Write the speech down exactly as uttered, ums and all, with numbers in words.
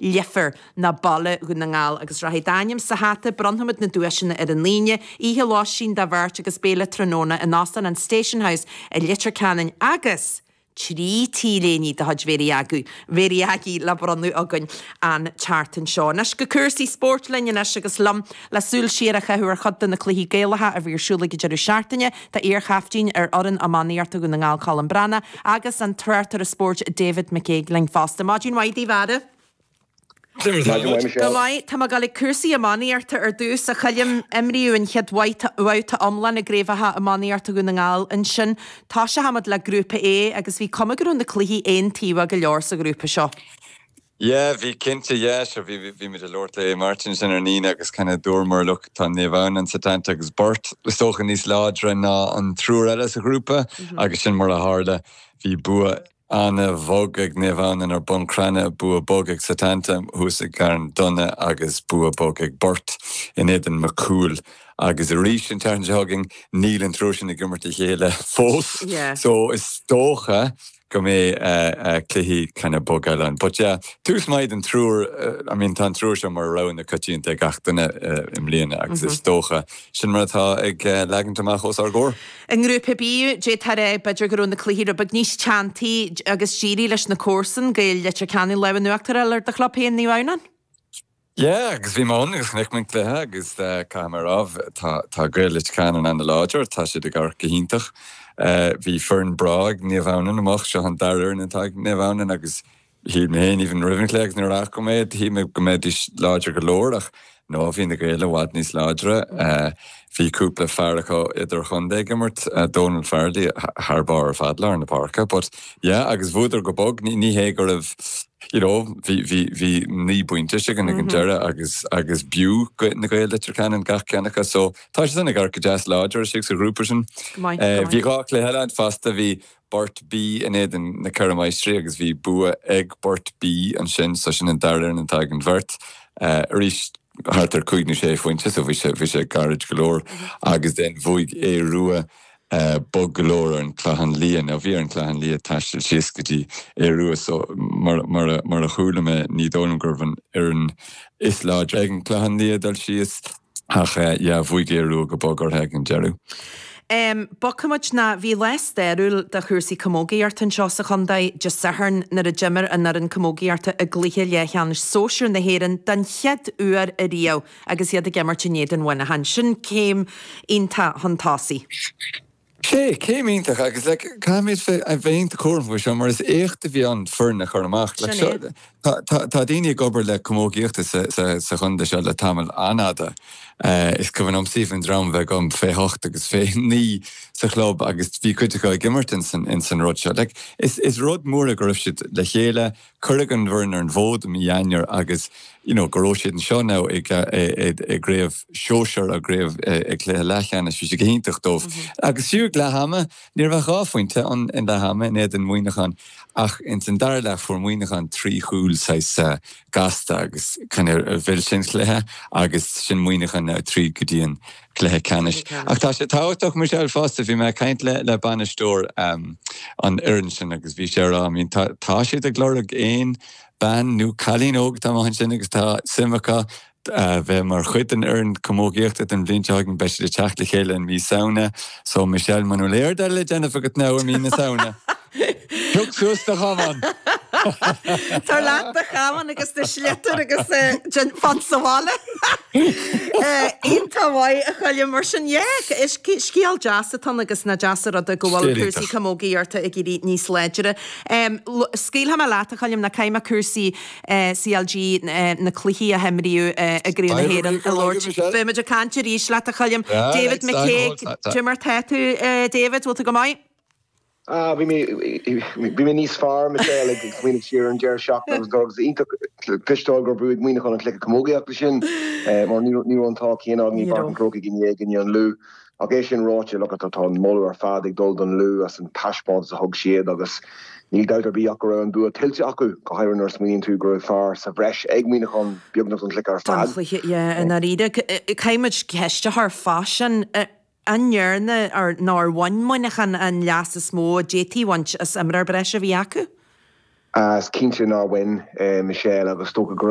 Leifear ná Baile Dhún na nGall agus rachaidh d'ainm sa hata, bronnfaimid na duaiseanna ar an Aoine, oíche lóistín do bheirt agus béile tráthnóna in Óstán an Station House i Leitir Ceanainn agus trí T-léine de chuid Mhéirí Aggie, Mhéirí Aggie le bronnadh againn an tseachtain seo. Anois go cúrsaí spóirt linn anois agus liom le súil siar a chaitheamh ar chuid de na cluichí Gaelacha a bhí ar siúl ag an deireadh seachtaine, tá iar-chaiftín ar fhoireann iománaíochta Dhún na nGall Colm Breathnach agus an tráchtaire spóirt David McCague linn fosta. Maidin mhaith daoibh a fheara. Go maith, tá mé ag dul ag cúrsaí iománaíochta ar dtús, a Choilm. Imríodh an chéad bhabhta iomlán i gcraobhacha iománaíochta Dhún na nGall ansin. Toiseochaimid le Grúpa A agus bhí cuma go raibh na cluichí aontaobhach go leor sa ghrúpa seo. Yeah, bhí cinnte, yeah, sure, bhí bhí muid ag labhairt le Martin sin ar an Aoine agus kind of dúramar look tá Naomh Adhamhnáin, Setanta agus Burt is dócha níos láidre ná an triúr eile sa ghrúpa agus sin mar a tharla. Bhí bua an-bhog ag Naomh Adhamhnáin ar Bun Cranncha, bua bog ag Setanta thuas i gCarn Domhnach agus bua bog ag Burt in éadan Macúil. Agus arís an tseachtain seo chugainn níl an triúr sin ag imirt a chéile fós so is dócha go mbeidh cluichí kind of bog eile ann. But yeah, tús maith don triúr, I mean tá an triúr seo mar rogha na coitianta ag gach duine i mbliana agus is dócha sin mar atá ag leagaint amach os ár gcomhair. I nGrúpa B, d'fhéadfá a rá b'fhéidir go raibh na cluichí rud beag níos teanntaí agus d'éirigh leis na comharsain, Gaeil Leitir Ceanainn, lámh in uachtar a fháil ar do chlub féin, Naomh Adhamhnáin. Yeah, agus bhí mé ann agus chonaic mé an cluiche agus caithfidh mé a rá, tá tá Gaeil Leitir Ceanainn an-láidir, tá siad ag amharc go hiontach. Bhí foireann breá ag Naomh Adhamhnáin amach, seo an dara fhoireann atá ag Naomh Adhamhnáin agus shíl mé féin even roimh an chluiche agus nuair a fhaca mé iad, shíl mé go mbeidís láidir go leor ach no, bhí na Gaeil i bhfad níos láidre. Bhí cúpla fear acu idirchontae ag imirt, Donal Farrelly thar barr ar fad lár na páirce but yeah agus bhuadar go bog, ní hé go raibh you know bhí bhí bhí naoi bpointe againn ag an deireadh agus agus b'fhiú na Gaeil Leitir Ceanainn gach ceann acu so tá sé sin ag amharc go deas láidir istigh sa ghrúpa sin. Go maith, go maith. Bhí dhá chluiche eile ann fosta, bhí Burt B in éadan na Ceithre Máistrí agus bhí bua ag Burt B ansin so sin an dara fhoireann atá ag an bheirt. Arís thart ar cúig nó sé phointe so bhí sé bhí sé gairid go leor agus then bhuaigh Aodh Rua bog go leor ar an Clochán Liath. Now bhí ar an Clochán Liath taisteal síos go dtí Aodh Rua so mar mar mar a chuala mé ní dóigh liom gurbh an fhoireann is láidre ag an Clochán Liath dul síos ach yeah bhuaigh Aodh Rua go bog orthu ag an deireadh. Um, Bogfaimid ná bhí lá stairiúil do chúrsaí camógaíochta anseo sa chontae Dé Sathairn nuair a d'imir an fhoireann camógaíochta i gcluiche leathcheannais sóisir na hÉireann den chéad uair ariamh agus iad ag imirt in éadan Mhuineacháin. Sin céim iontach chun tosaigh. Sé, céim iontach agus like, caithfimid a bheith iontach cúramach faoi seo mar is éacht a bhí ann foireann a chur amach. Like, Sin é. seo, tá, tá, tá daoine ag obair le camógaíochta sa, sa, sa chontae seo le tamall an-fhada. Uh, is cuimhin liomsa an dream bheith agam fé hocht agus fé naoi sa chlub agus bhí cuid acu ag imirt in san, in san rud seo. Like, is, is rud mór go raibh siad le chéile, cuireadh an bhfoireann ar an bhfód i mí Eanáir agus you know, go raibh siad anseo now ag ag craobh sóisir ag craobh ag cluiche leathcheannais, bhí sé go hiontach dóibh. Agus fiú ag leath ama, ní raibh ach dhá phointe an in leath ama in éadan Mhuineacháin ach ins an dara leath fuair Muineachán trí chúl saghas gasta agus kind of mhill sin cluiche agus sin Muineachán now tríd go dtí an cluiche ceannais. Ach tá sé tábhachtach Michelle fosta, bhí mé ag caint le le bainisteoir um, an fhoireann sin agus bhí sé rá, I mean, tá, tá siad ag lorg aon bean nó cailín óg atá amuigh ansin agus tá suim acu uh, bheith mar chuid den fhoireann camógaíochta den bhliain seo chugainn beidh siad ag teacht le chéile in mí Samhna, so Michelle muna bhfuil aon rud eile le déanamh agat now i mí na Samhna. Pioc suas do chamán. Tar leat do chamán agus do shliotar agus fan sa bhaile. Iontach maith a Choilm mar sin yeah, is scéal deas atá ann agus nach deas an rud go bhfuil cúrsaí camógaíochta ag éirí níos láidre. Scaoilfidh mé leat a Choilm na caithfidh mé cúrsaí CLG na cluichí a himríodh i gCraobh na hÉireann a labhairt. Beimid ag caint arís leat a Choilm. David McCague, Cad é mar tá tú David, bhfuil tú go maith? Ah, bhí mé bhí mé níos fearr Michelle ag smaoineamh siar an deireadh seachtaine agus agus iontach cloisteáil gur bhuaigh Muineachán an cluiche camógaíochta sin mar ní ní raibh an t-ádh céanna againn i bPáirc an Chrócaigh inné i gcoinne an Lú. Ach é sin ráite le tá an moladh ar fad ag dul don Lú as an taispeántas a thug siad agus níl dabht ar bith ach go raibh an bua tuillte acu go háirithe nuair a smaoiníonn tú go raibh fear sa bhreis ag Muineachán beagnach don chluiche ar Don fad. chluiche yeah, i ndáiríre caithfimid ceist a chur fá sin an ndearna ar nó ar bhain Muineachán an leas is mó a d'fhéadfaí a bhaint as imreoir breise a bhí acu? Is cinnte nár bhain Michelle agus is dócha go